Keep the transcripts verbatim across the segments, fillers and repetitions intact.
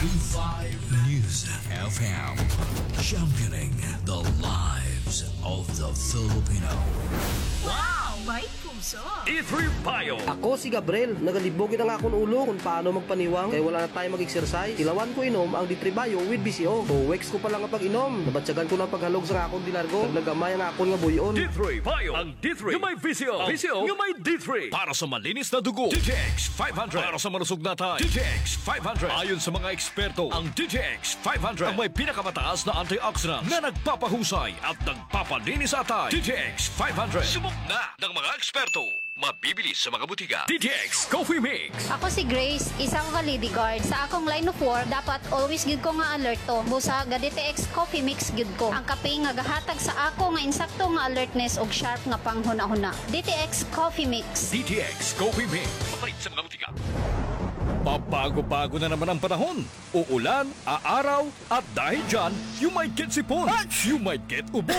Five News F M, championing the lives of the Filipino. Wow! May puso! D three Bio. Ako si Gabriel, nagalibog gid an akon ulo kon paano magpaniwang kay wala na time mag-exercise. Tilawan ko inom ang D three Bio with V C O. Two weeks ko pa lang nga pag-inom, nabatyagan ko na an paghalog sa akon di largo. Naggamay ang akon nga buy-on. D three Bio, ang D three nga may V C O. V C O nga may D three. Para sa malinis na dugo, D T X five hundred. Para sa malusog na atay, D T X five hundred. Ayon sa mga eksperto, ang D T X five hundred ang may pinakamataas na antioxidants na nagpapahusay at nagpapalinis sa atay. D T X five hundred. Subok na ng mga eksperto. Mabibili sa mga butika. D T X Coffee Mix. Ako si Grace, isa ko ka lady guard. Sa akong line of work, dapat always gyud ko nga alerto. Busa ga D T X Coffee Mix gyud ko. Ang kape nga gahatag sa ako nga insakto nga alertness ug sharp nga panghunahuna. D T X Coffee Mix. D T X Coffee Mix. Mapalit sa mga butika. Pabago-bago na naman ang panahon. Uulan, aaraw, at dahil dyan, you might get sipon, you might get ubo,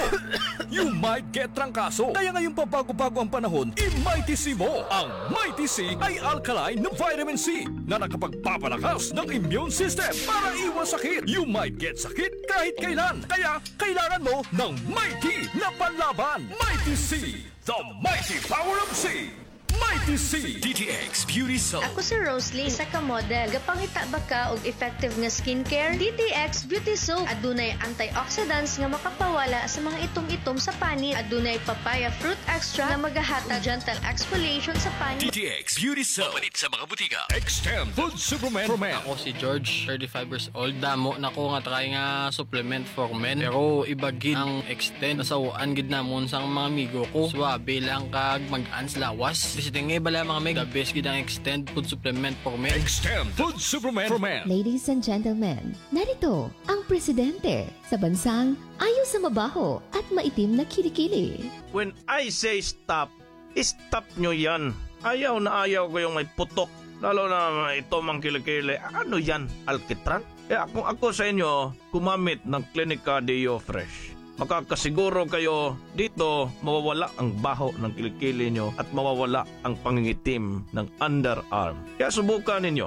you might get trangkaso. Kaya ngayong pabago-bago ang panahon, i-Mighty C mo. Ang Mighty C ay alkaline na vitamin C na nakapagpapalakas ng immune system para iwas sakit. You might get sakit kahit kailan. Kaya kailangan mo ng Mighty na panlaban. Mighty C, the mighty power of C. Mighty C. D T X Beauty Soap. Ako si Roslyn, isa ka model. Gapangita ba ka og effective nga skincare? D T X Beauty Soap. Adunay antioxidants nga makapawala sa mga itom-itom sa panit. Adunay papaya fruit extract nga magahatag gentle exfoliation sa panit. D T X Beauty Soap. Mapalit sa mga butika. Extend Food Supplement for Men. Ako si George, thirty-five years old. Damo na ko nga try nga supplement for men. Pero iba gid ang Extend. Nasaw-an gid namon sang mga amigo ko. Suabe lang kag mag-ans lawas. Visiting nga bala, mga mig. The best gid ang Extend food supplement for men. Extend food supplement for men. Ladies and gentlemen, narito ang presidente sa bansang ayaw sa mabaho at maitim na kilikili. When I say stop, stop nyo yan. Ayaw na ayaw ko yung may putok. Lalo na may itom ang kilikili. Ano yan? Alkitran? Kaya kung ako sa inyo, gumamit ng Clinica Deo Fresh. Makakasiguro kayo dito mawawala ang baho ng kilikili nyo at mawawala ang pangingitim ng underarm. Kaya subukan ninyo.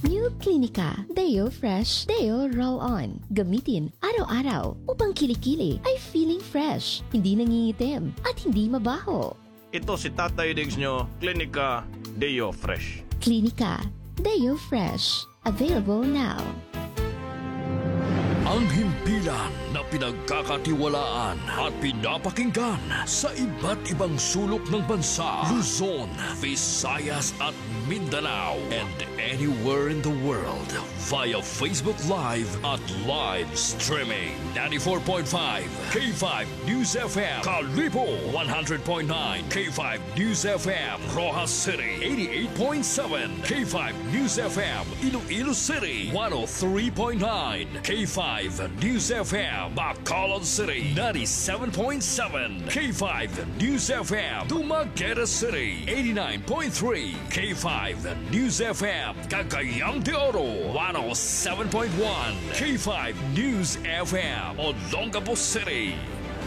New Clinica Deo Fresh Deo Roll On. Gamitin araw-araw upang kilikili ay feeling fresh, hindi nangingitim, at hindi mabaho. Ito si Tatay Diggs nyo, Clinica Deo Fresh. Clinica Deo Fresh. Available now. Ang himpilan na pinagkakatiwalaan at pinapakinggan sa iba't ibang sulok ng bansa, Luzon, Visayas at Mindanao, and anywhere in the world via Facebook Live at live streaming. Ninety-four point five K five News F M, Kalibo, one hundred point nine K five News F M, Roxas City, eighty-eight point seven K five News F M, Iloilo City, one oh three point nine K five News F M, Bacolod City, ninety-seven point seven K five News F M, Dumaguete City, eighty-nine point three K five News F M, Cagayan de Oro, one oh seven point one K five News F M, Olongapo City.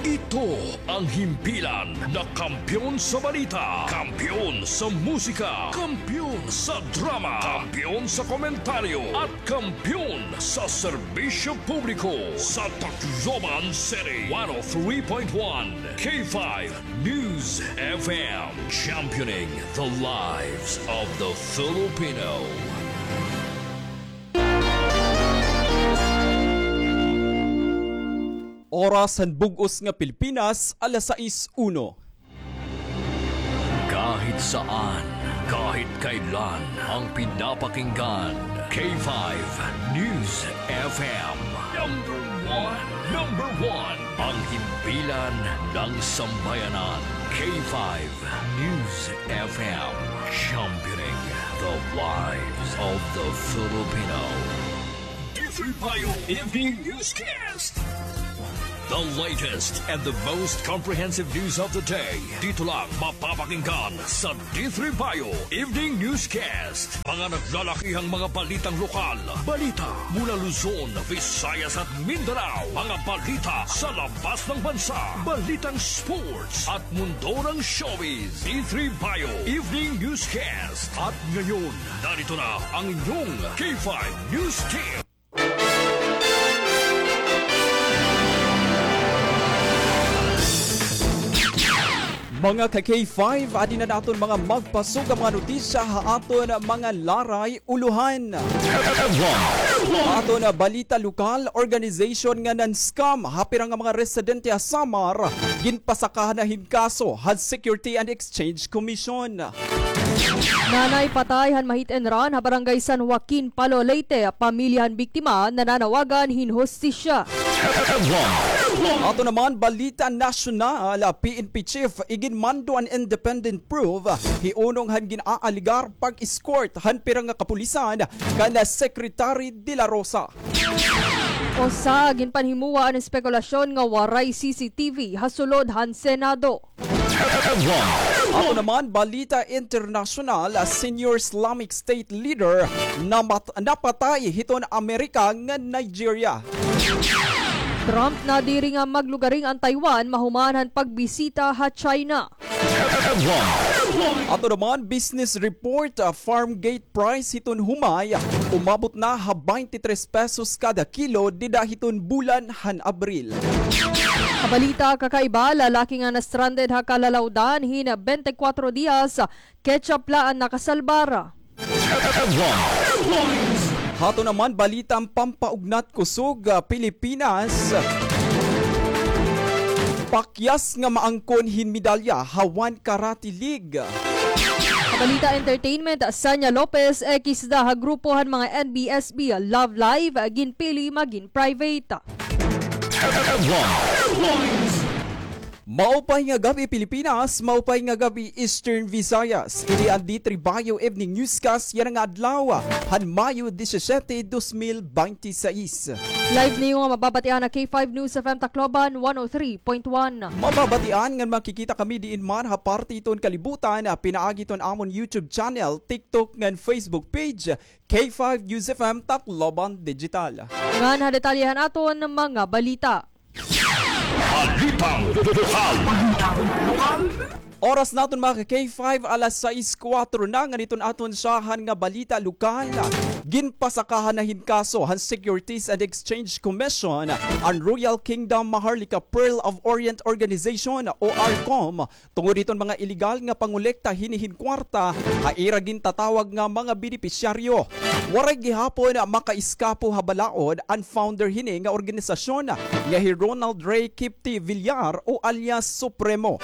Ito ang himpilan na kampiyon sa balita, kampiyon sa musika, kampiyon sa drama, kampiyon sa komentaryo, at kampiyon sa serbisyo publiko sa Tacloban City. One oh three point one K five News F M, championing the lives of the Filipino. Oras han bug-os nga Pilipinas, alas sais uno. Kahit saan, kahit kailan, ang pinapakinggan, K five News F M. Number one, number one, ang himpilan ng sambayanan, K five News F M, championing the lives of the Filipino. D three Bio Evening Newscast. The latest and the most comprehensive news of the day. Dito lang mapapakinggan sa D three Bio Evening Newscast. Mga naglalakihang mga balitang lokal. Balita mula Luzon, Visayas at Mindanao. Mga balita sa labas ng bansa. Balitang sports at mundo ng showbiz. D three Bio Evening Newscast. At ngayon, narito na ang inyong K five News Team. Mga ka-K five, adi na naton mga magpasug nga mga notisya ha aton mga laray ulohan. Ha aton balita lokal, organization nga nan-scam ha pira nga mga residente ha Samar, ginpasakahan na hin kaso han Security and Exchange Commission. Nanay patay han ma-hit and run ha Barangay San Joaquin, Palo, Leyte, pamilya han biktima nananawagan hin hustisya. Ato naman balita nasyonal, P N P chief iginmando an independent probe hiunong han gin-aalegar pag-escort han pira nga kapulisan kan Secretary De La Rosa. Usa, ginpanhimuwa an espekulasyon nga waray C C T V ha sulod han Senado. Ato naman balita internasyonal, senior Islamic State leader namat-, napatay hiton Amerika nga Nigeria. Trump nadiri nga maglugaring an Taiwan mahuman han pagbisita ha China. Ato naman business report, ah, farm gate price hiton humay umabot na ha twenty-three pesos kada kilo dida hiton bulan han Abril. Ha balita kakaiba, lalaki nga na-stranded ha Kalalawdan hin twenty-four dias, ketchup la an nakasalbar. Hato naman balita an pampaugnat kusog, ah, Pilipinas. Pakyas nga maangkon hin medalya ha One Karate League. Ha balita entertainment, Sanya Lopez, ekis da ha grupo han mga N B S B Love Live, ginpili magin private. Maupay nga gab-i, Pilipinas. Maupay nga gab-i, Eastern Visayas. Ini an D three Bayo Evening Newscast yana nga adlaw han Mayo disisiete, dos mil bente y seis. Live niyo nga mababatian ha K five News F M Tacloban, one oh three point one. Mababatian ngan makikita kami diin man ha parte hiton kalibutan, pinaagi hiton amon YouTube channel, TikTok ngan Facebook page, K five News F M Tacloban Digital. Ngan ha detalye han aton mga balita. Balitang lokal. Oras naton, mga ka-K five, alas sais kuwatro na. Ngan iton aton syahan nga balita lokal. Ginpasakahan na hin kaso han Securities and Exchange Commission an Royal Kingdom Maharlika Pearl of Orient Organization o ARCOM tungod hiton mga iligal nga pangolekta hini hin kwarta ha ira gintatawag nga mga benepisyaryo. Waray gihapon makaiskapo ha balaod an founder hini nga organisasyon nga hi Ronald Ray Kipti Villar o alias Supremo.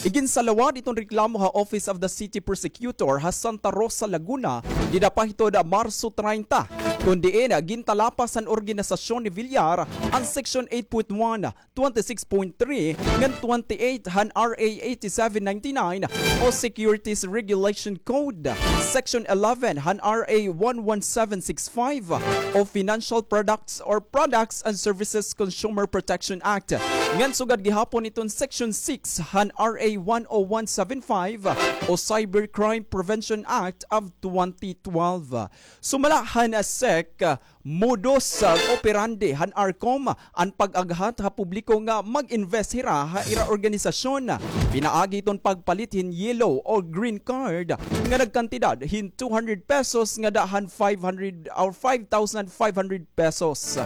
Iginsalawad iton reklamo ha Office of the City Prosecutor ha Santa Rosa, Laguna, dida pa hiton Marso treinta, kon diin gintalapas han organisasyon ni Villar an Section eight point one, twenty-six point three ngan twenty-eight han R A eighty-seven ninety-nine o Securities Regulation Code, Section eleven han R A one one seven six five o Financial Products or Products and Services Consumer Protection Act, ngan sugad gihapon iton Section six han R A one oh one seven five o Cybercrime Prevention Act of twenty twelve. Sumala han sec, modus operandi han ARCOM an pag-aghat ha publiko nga mag-invest hira ha ira organisasyon. Pinaagi hiton pagpalit hin yellow o green card nga nagkantidad hin two hundred pesos ngada han five hundred or five thousand five hundred pesos.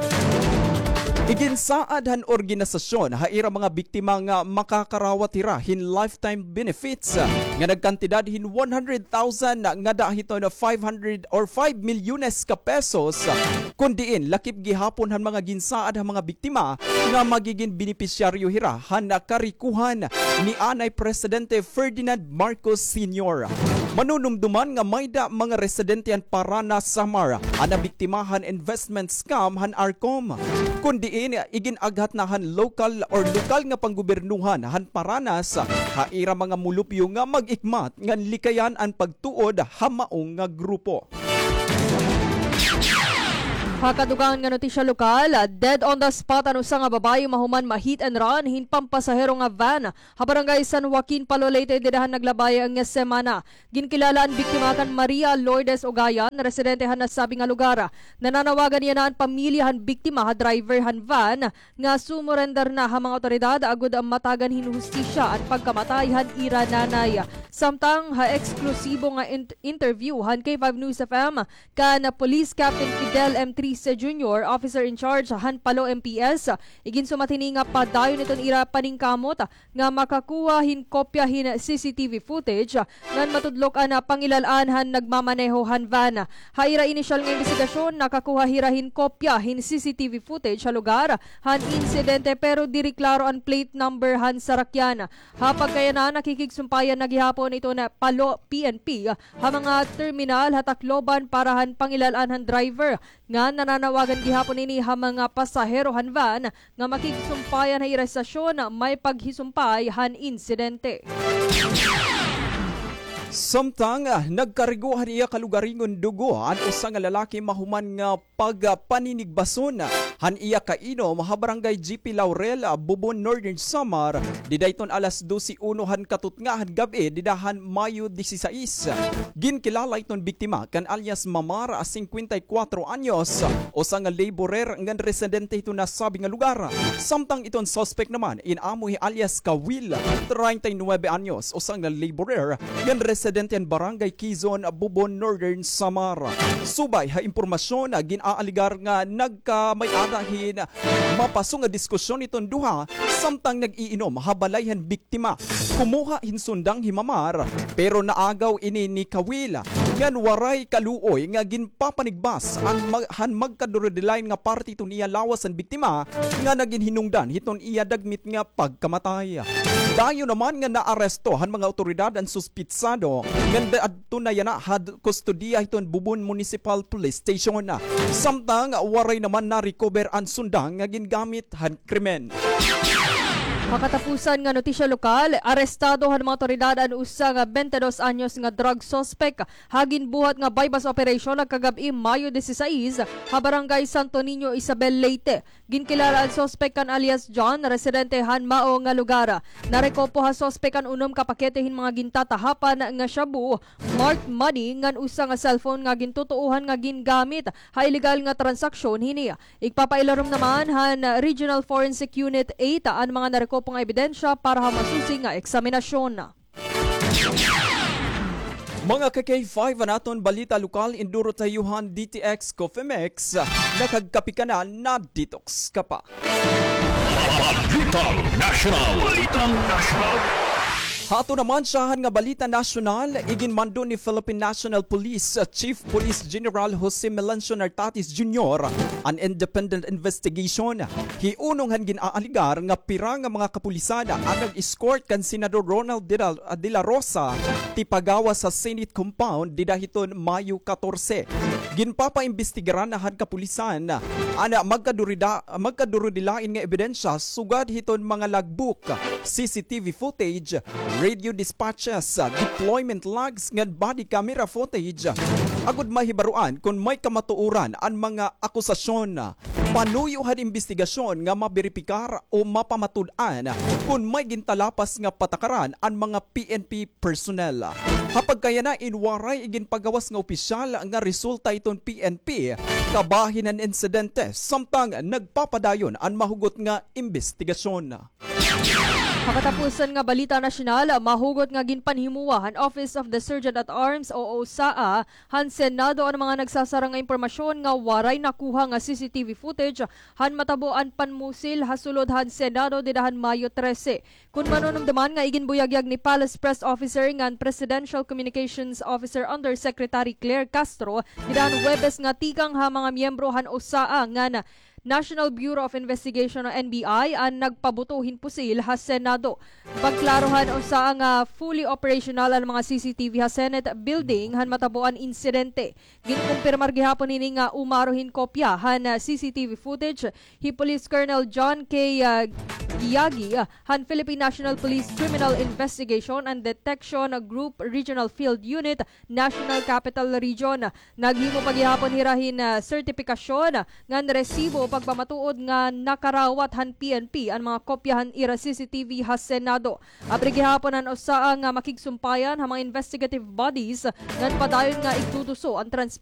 Iginsaad han organisasyon ha ira mga biktima nga makakarawat hira hin lifetime benefits nga nagkantidad hin one hundred thousand ngada hiton five hundred or five milyones ka pesos, kon diin lakip gihapon han mga ginsaad han mga biktima nga magigin benepisyaryo hira han karikohan ni anay Presidente Ferdinand Marcos Senior. Manunumduman nga mayda mga residente han Paranas, Samar an nabiktima han investment scam han ARCOM, kon diin igin-aghat na han lokal or lokal nga panggobernohan han Paranas ha ira mga mulupyo nga mag-ikmat ngan likayan an pagtuod ha mao nga grupo. Ha kadugangan nga notisya lokal, dead on the spot an usa nga babaye mahuman ma-hit and run hin pampasahero nga van ha Barangay San Joaquin, Palo, Leyte, dida han naglabay nga semana. Ginkilala an biktima kan Maria Lourdes Ugayan, residente han nasabi nga lugar. Nananawagan yana an pamilya han biktima ha driver han van nga sumurender na ha mga awtoridad agod matagan hin hustisya an pagkamatay han ira nanay. Samtang ha eksklusibo nga in-, interview han K five News F M kan Police Captain Fidel M. Junior, Officer in Charge han Palo M P S, iginsumat hini nga padayon iton ira paningkamot nga makakuha hin kopya hin C C T V footage ngan matudlok an pangilal-an han nagmamaneho han van. Ha ira inisyal nga imbestigasyon, nakakuha hira hin kopya hin C C T V footage ha lugar han insidente, pero diri klaro an plate number han sarakyan. Ha pagkayana, nakikigsumpayan na gihapon iton Palo P N P ha mga terminal ha Tacloban para han pangilal-an han driver nga nananawagan gihapon ini ha mga pasahero han van nga makigsumpayan ha ira estasyon may paghisumpay han insidente. Samtang, ah, nagkarigo han iya kalugaringon dugo an usa nga lalaki mahuman nga pagpaninigbason han iya kainom ha Barangay G P Laurel, ah, Bubon, Northern Samar, dida hiton alas dose uno han katutnga han gab-i dida han Mayo disisais. Ginkilala hiton biktima kan alias Mamar, ah, singkwenta y kwatro anyos, usa nga laborer ngan residente hiton nasabi nga lugar. Samtang iton suspek naman in amo hi alias Kawil, treinta y nuebe anyos, usa nga laborer ngan residente han Barangay Quezon, Bubon, Northern Samar. Subay ha impormasyon, gin-aaligar nga nagkamay-ada hin mapaso nga diskusyon iton duha samtang nag-iinom ha balay han biktima. Kumuha hin sundang hi Mamar, pero naagaw ini ni Kawil ngan waray kaluoy nga ginpapanigbas an mag-, han magkadurudilain nga parte hiton iya lawas an biktima nga nagin hinungdan hiton iya dagmit nga pagkamatay. Dayon naman nga naaresto han mga awtoridad an suspitsado ngan adto na yana ha d-, kustodiya hiton Bubon Municipal Police Station. Samtang waray naman na-recover an sundang nga gingamit han krimen. Ha katapusan nga notisya lokal, arestado han mga awtoridad an usa nga bente dos anyos nga drug suspect ha ginbuhat nga buy-bust operation nagkagab-i Mayo disisais ha Barangay Santo Niño, Isabel, Leyte. Ginkilala an suspek kan alias John, residente han mao nga lugar. Narekopo ha suspek an unom ka pakete hin mga gintatahapan nga shabu, marked money, ngan usa nga cellphone nga gintutuohan nga gingamit ha illegal nga transaksyon hini. Igpapailarom naman han Regional Forensic Unit eight an mga narekopo nga ebidensya para ha masusi nga eksaminasyon. Mga ka-K five, an aton balita lokal, induro ta iyo han D T X Coffee Mix. Nakagkape ka na, na-detox ka pa. Balitang Nasyonal. Balitang Nasyonal. Ha aton naman syahan nga balita nasyonal, iginmando ni Philippine National Police Chief Police General Jose Melencio Nartates Junior an independent investigation hi unong han gin-aaligar nga pira nga mga kapulisan an nag-escort kan Senador Ronald De La, De La Rosa tipagawas ha Senate compound dida hiton Mayo katorse. Ginpapaimbestigaran na han kapulisan an magkadurida-, magkadurudilain nga ebidensya sugad hiton mga logbook, C C T V footage, radio dispatches, deployment logs, ngan body camera footage, agod mahibaroan kon may kamatuoran an mga akusasyon. Panuyo han imbestigasyon nga maberipikar o mapamatud-an kon may gintalapas nga patakaran an mga P N P personnel. Ha pagkayana, in waray iginpagawas nga opisyal nga resulta iton P N P kabahin han insidente, samtang nagpapadayon an mahugot nga imbestigasyon. Ha katapusan nga balita nasyonal, mahugot nga ginpanhimuwa han Office of the Surgeon at Arms o OSAA han Senado an mga nagsasarang nga impormasyon nga waray nakuha nga C C T V footage han matabo an panmusil ha sulod han Senado dida han Mayo trese. Kon manunumdoman nga iginbuyagyag ni Palace Press Officer ngan Presidential Communications Officer Undersecretary Claire Castro dida han Huwebes nga tikang ha mga miyembro han OSAA ngan National Bureau of Investigation o N B I an nagpabuto hin pusil ha Senado. Pagklaro han OSAA nga fully operational an mga C C T V ha Senate building han matabo an insidente. Ginkumpirmar gihapon hini nga umaro hin kopya han, ah, C C T V footage hi Police Colonel John K, ah, Giagi, ah, han Philippine National Police Criminal Investigation and Detection Group Regional Field Unit, National Capital Region. Naghimo pa gihapon hira hin, ah, sertipikasyon ngan resibo pagpamatuod nga nakarawat han P N P an mga kopya han ira C C T V ha Senado. Abri gihapon an OSAA nga makigsumpayan ha mga investigative bodies ngan padayon nga igduduso an transparency